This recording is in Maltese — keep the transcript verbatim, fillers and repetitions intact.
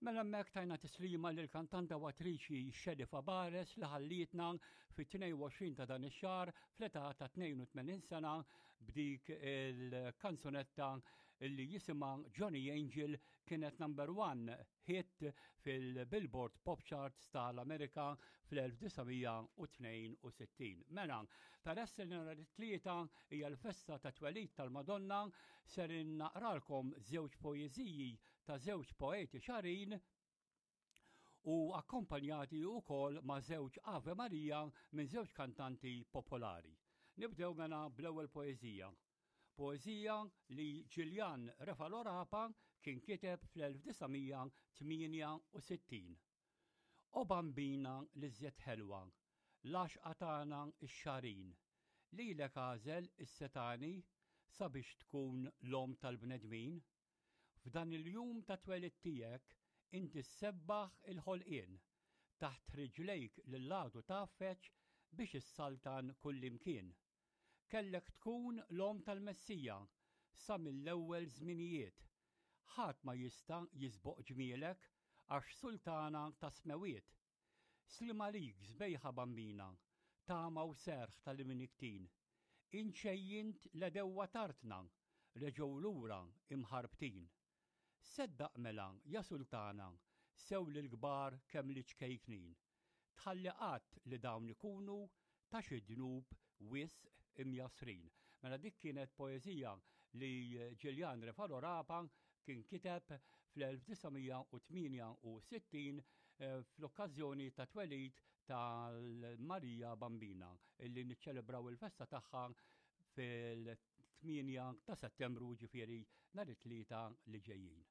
Mela hemmhekk tajna tislima lil kantanta u attriċi Shelley Fabares li ħallietna fit-tnejn u għoxrin ta' dan ix-xahar fl-età ta' tnejn u tmenin sena b'dik il-kanzunetta li jisimha Johnny Angel, kienet number one hit fil-Billboard Pop Charts tal-Amerika fl-elf disa' mija u tnejn u sittin. Mela, peress li nhar it-Tlieta hija l-festa ta' twelid tal-Madonna, ser naqralkom żewġ poeżiji ta' żewġ poeti Xagħrin u akkompanjati wkoll ma' żewġ Ave Maria minn żewġ kantanti popolari. Nibdew mela bl-ewwel poeżija. Poeżija li Ġiljan Refalo Rapa kien kiteb fl-elf disa' mija tmienja u sittin. O Bambina l-iżjed ħelwa, l-għaxqa tagħna x-Xagħrin, lilek għażel is-Setgħani sabiex tkun l-om tal-bnedmin. F'dan il-jum ta' twelid tiegħek inti ssebbaħ il-ħolqien, taħt riġlejk lill-għadu tgħaffeġ biex issaltan kullimkien. Kellek tkun l-om tal-Messija sa mill-ewwel żminijiet. Ħadd ma jista' jisboq ġmielek għax sultana ta' smewiet. Sliem għalik, sbejħa Bambina, tama u serħ tal-imnikktin. Int xejjint l-għedewwa t'artna, reġgħu lura imħarbtin. Seddaq mela, ja sultana, sew lill-kbar kemm liċ-ċkejknin. Tħalli qatt li dawn ikunu ta' xi dnub wisq imjassrin. Mela dik kienet poeżija li Ġiljan Refalo Rapa kien kiteb fl-elf disa' mija u tmienja u sittin eh, fl-okkażjoni ta' twelid tal-Marija Bambina illi niċċelebraw il-festa tagħha fil-tmienja ta' Settembru, ġifieri nhar it-Tlieta li ġejjin.